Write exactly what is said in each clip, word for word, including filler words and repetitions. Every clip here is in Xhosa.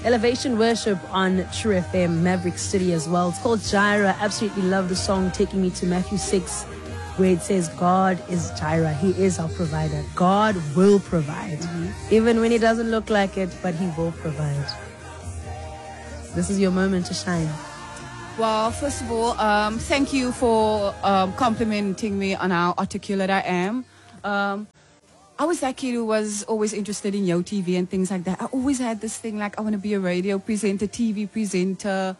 Elevation Worship on True F M, Maverick City as well. It's called Jireh. Absolutely love the song, taking me to Matthew six, where it says God is Jireh. He is our provider. God will provide. Mm-hmm. Even when it doesn't look like it, but he will provide. This is your moment to shine. Well, first of all, um, thank you for, um, complimenting me on how articulate I am. Um, I was that kid who was always interested in Yo T V and things like that. I always had this thing like I wanna be a radio presenter, T V presenter,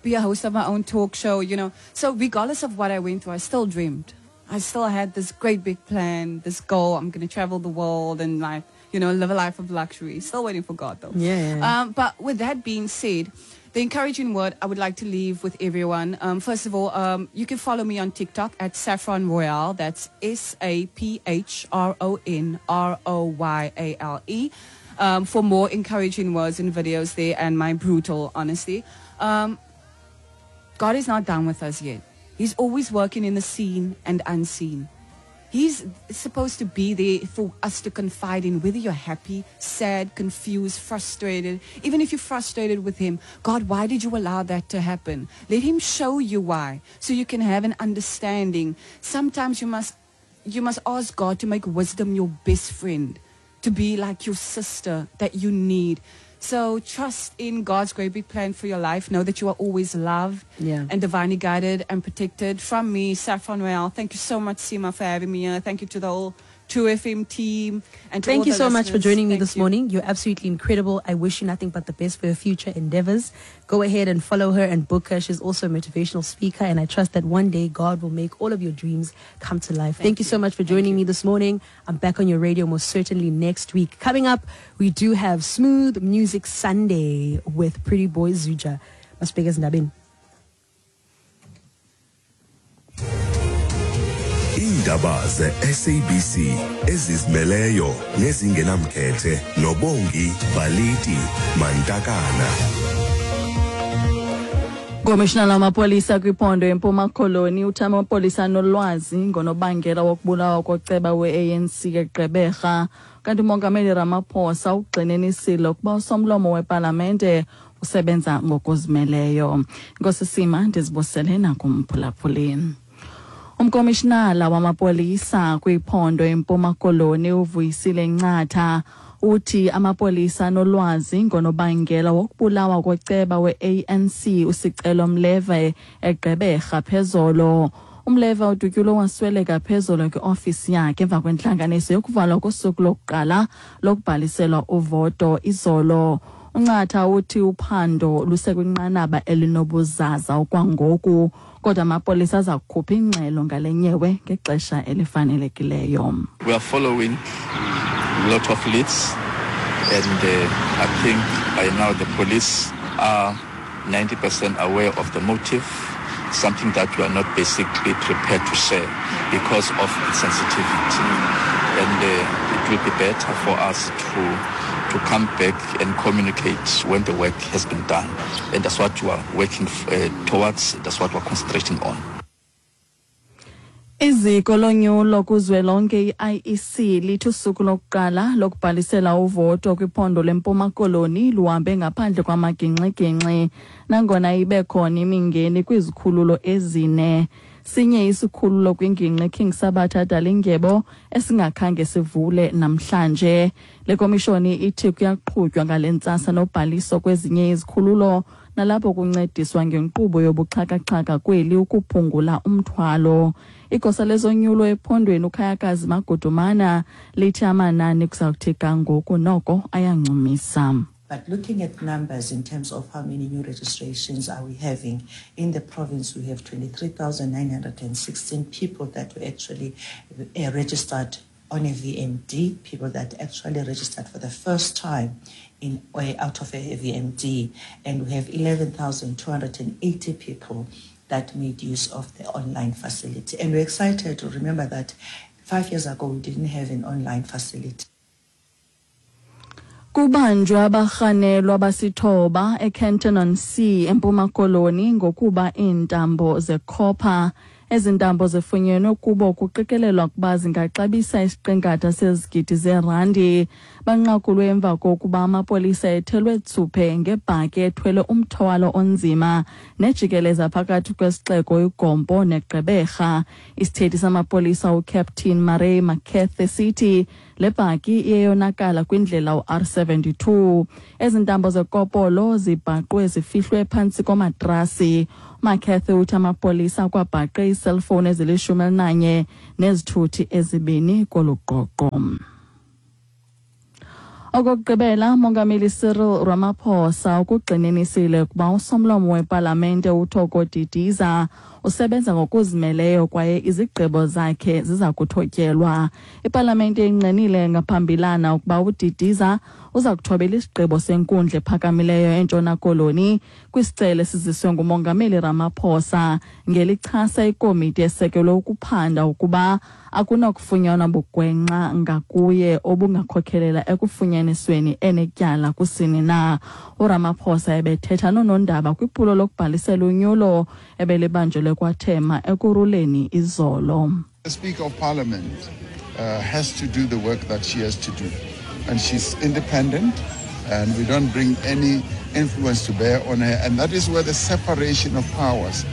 be a host of my own talk show, you know. So regardless of what I went through, I still dreamed. I still had this great big plan, this goal. I'm gonna travel the world and like, you know, live a life of luxury. Still waiting for God though. Yeah. Um, but with that being said, the encouraging word I would like to leave with everyone. Um, first of all, um, you can follow me on TikTok at Saffron Royale. That's S A P H R O N R O Y A L E, um, for more encouraging words and videos there and my brutal honesty. Um, God is not done with us yet. He's always working in the seen and unseen. He's supposed to be there for us to confide in, whether you're happy, sad, confused, frustrated. Even if you're frustrated with him, God, why did you allow that to happen? Let him show you why, so you can have an understanding. Sometimes you must, you must ask God to make wisdom your best friend, to be like your sister that you need. So trust in God's great big plan for your life. Know that you are always loved Yeah. and divinely guided and protected. From me, Saffron Royale, thank you so much, Seema, for having me here. Thank you to the whole True F M team. And to Thank all you the so much for listeners. joining me Thank this you. morning. You're absolutely incredible. I wish you nothing but the best for your future endeavors. Go ahead and follow her and book her. She's also a motivational speaker, and I trust that one day God will make all of your dreams come to life. Thank Thank you so you. much for Thank joining you. me this morning. I'm back on your radio most certainly next week. Coming up, we do have Smooth Music Sunday with Pretty Boy Zuja. Masibheke ezindabeni. Iindaba ze-S A B C ezizimeleyo nezingenamkhethe noBongi Baliti Mantakana. Komishinala wamapolisa kwiphondo eMpuma Koloni uthi amapolisa anolwazi ngonobangela wokubulawa koceba we-A N C eGqeberha. Kanti uMongameli Ramaphosa ugxininisile ukuba usomlomo wepalamente usebenza ngokuzimeleyo. Nkosi Sima, ndizibusele nakumphulaphuli. Umkomishinala wamapolisa kwiphondo eMpuma Koloni uVuyisile Ncatha uthi amapolisa anolwazi ngonobangela wokubulawa koceba we-A N C uSicelo Mleve eGqeberha phezolo. Umleve udutyulwe wasweleka phezolo kwiofisi yakhe emva kwentlanganiso yokuvalwa kosuku lokuqala lokubhaliselwa uvoto izolo. UNcatha uthi uphando lusekwinqanaba elinobuzaza okwangoku, kodwa amapolisa aza kukhupha ingxelo ngale nyewe ngexesha elifanelekileyo. We are following a lot of leads, and, uh, I think by now the police are ninety percent aware of the motive, something that we are not basically prepared to share because of its sensitivity. And, uh, it will be better for us to, to come back and communicate when the work has been done. And that's what we are working, uh, towards, that's what we're concentrating on. Iziko lonyulo kuzwelonke i-I E C lithi usuku lokuqala lokubhalisela uvoto kwiphondo leMpuma Koloni luhambe ngaphandle kwamagingxigingxi nangona ibe khona imingeni kwizikhululo ezine. Sinye isikhululo kwingingqi King Sabatha Dalindyebo esingakhange sivule namhlanje. Le komishoni ithi kuyaqhutywa ngale ntsasa nobhaliso kwezinye izikhululo nalapho kuncediswa ngenkqubo yobuxhakaxhaka kweli ukuphungula umthwalo. Igosa lezonyulo ephondweni uKhayakazi Magudumana lithi amanani kusawuthi ga ngoku noko ayancumisa. But looking at numbers in terms of how many new registrations are we having in the province, we have twenty-three thousand nine hundred and sixteen people that were actually, uh, registered on a V M D, people that actually registered for the first time in uh, out of a V M D, and we have eleven thousand two hundred and eighty people that made use of the online facility. And we're excited to remember that five years ago we didn't have an online facility. Kubanjwe abarhanelwa basithoba eKenton-on-Sea eMpuma Koloni ngokuba iintambo zekhopha. Ezi ntambo zifunyenwe kubo kuqikelelwa ukuba zingaxabisa isiqingatha sezigidi zeerandi. Banqakulwe emva kokuba amapolisa ethelwe tsuphe ngebhaki ethwele umthwalo onzima nejikeleza phakathi kwesixeko iGompo neGqeberha. Isithethi samapolisa uCaptain Murray Makethe sithi le bhaki iyeyonakala kwindlela u-R seventy-two. Ezi ntambo zekopolo zibhaqwe zifihlwe phantsi komatrasi. Makethe uthi amapolisa akwabhaqe iiselfowuni ezilishumi elinanye nezithuthi ezibini kolu qoqo. Okokugqibela, Mongameli Cyril Ramaphosa ukugxininisile ukuba usomlomo wepalamente uThoko Didiza usebenza ngokuzimeleyo kwaye izigqibo zakhe ziza kuthotyelwa. Ipalamente ingqinile ngaphambilana ukuba uDidiza uza kuthobela isigqibo senkundla ephakamileyo eNtshona Koloni kwisicelo esiziswe nguMongameli Ramaphosa ngelichasa ikomiti esekelwe ukuphanda ukuba akunakufunyanwa bugwenxa ngakuye obungakhokelela ekufunyanisweni enetyala kusini na. URamaphosa ebethetha noonondaba kwiphulo lokubhalisela unyulo ebelibanjelwe kwaThema Ekurhuleni izolo. The Speaker of Parliament uh, has to do the work that she has to do. And she's independent, and we don't bring any influence to bear on her. And that is where the separation of powers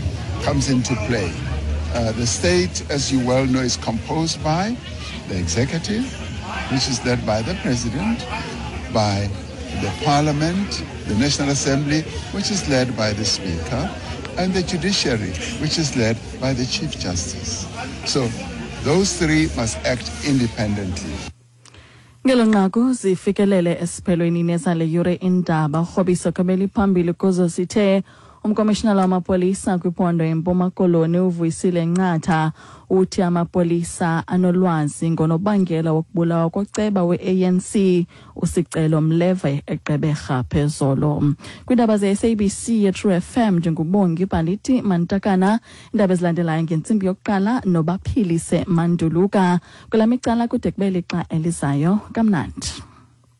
comes into play. Uh, the state, as you well know, is composed by the executive, which is led by the president, by the parliament, the National Assembly, which is led by the speaker, and the judiciary, which is led by the Chief Justice. So those three must act independently. Ngelo nqaku zifikelele esiphelweni nezale yure indaba. Urhobiso kabeli phambili kuzo sithe umkomishinala wamapolisa kwiphondo eMpuma Koloni uVuyisile Ncatha uthi amapolisa anolwazi ngonobangela wokubulawa koceba we-A N C uSicelo Mleve eGqeberha phezolo. Kwiindaba ze-S A B C ye-True F M ndinguBongi Baliti Mantakana. Iindaba ezilandelayo ngentsimbi yokuqala noBaphilise Manduluka. Kula micala kude kube lixa elizayo. Kamnandi.